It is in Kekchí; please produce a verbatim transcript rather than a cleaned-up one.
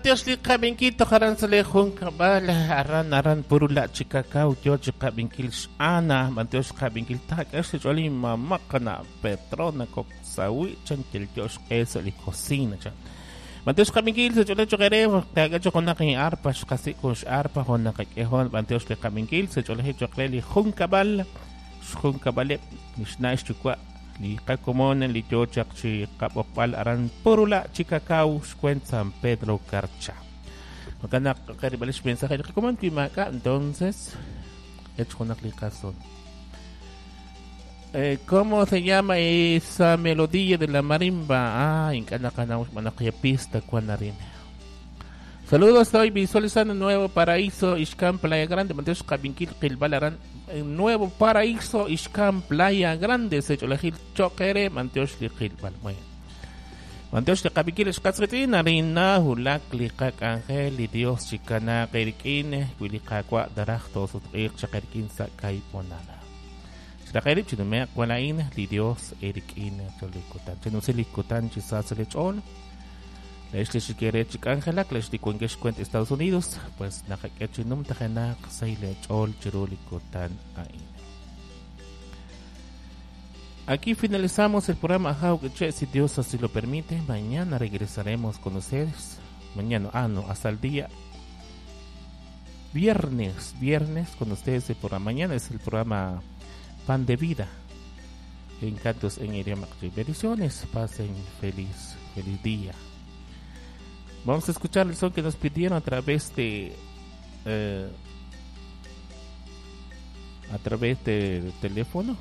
Bantiox li qab'inkil tojaran sa' li junkab'al aran aran purula chikakaw yo chi qab'inkil x'Ana bantiox qab'inkil tak'ex xch'ool mama qana Petrona koksawi chan kelyox q'e sa' li cocina chan bantiox qab'inkil sa' ch'ool choqere ka'k'e choqonaq in arpa xqasi kun x'arpa jun naqak'ejon bantiox li qab'inkil sa' ch'ool choqre li junkab'al xjunkab'aleb' xna' xyuwa' li qakomon li yo chaq chi qab'oqb'al aran Purula Chicacao xcuent San Pedro Carcha. Jo'kan naq qarib'al xmensaje li qakomon wi maak'a' entonces ech junaq li qason. Eh, ¿Cómo se llama esa melodía de la marimba? Ah, ink'a' naqanaw xb'aan pista kuan arin. Saludos, estoy visualizando Nuevo Paraíso, Ixcán, Playa Grande. Manteos Qabinkil, Qilbal aran. Nuevo Paraíso, Ixcán, Playa Grande. Secholajil Choquere, Manteos Liqilbal. Bueno. Manteos Liqabinkil, Xqatzritin, Arina, Hulak, Liqak, Ángel, y Dios, Chicana, Qerikin, Wiliqakwa, Daraj, Tosutqiq, Chaqerikin, Sakay, Ponala. Xraqerib, Chinumeq, Walain, li Dios, Erikin, Cholikutan. Chinusilikutan, Chisaselechol. Estados Unidos, pues aquí finalizamos el programa Che, si Dios así lo permite. Mañana regresaremos con ustedes. Mañana, ah no, hasta el día viernes, viernes con ustedes el programa. Mañana es el programa Pan de Vida en Cantos en idioma. Bendiciones, pasen feliz, feliz día. Vamos a escuchar el son que nos pidieron a través de eh, a través del teléfono.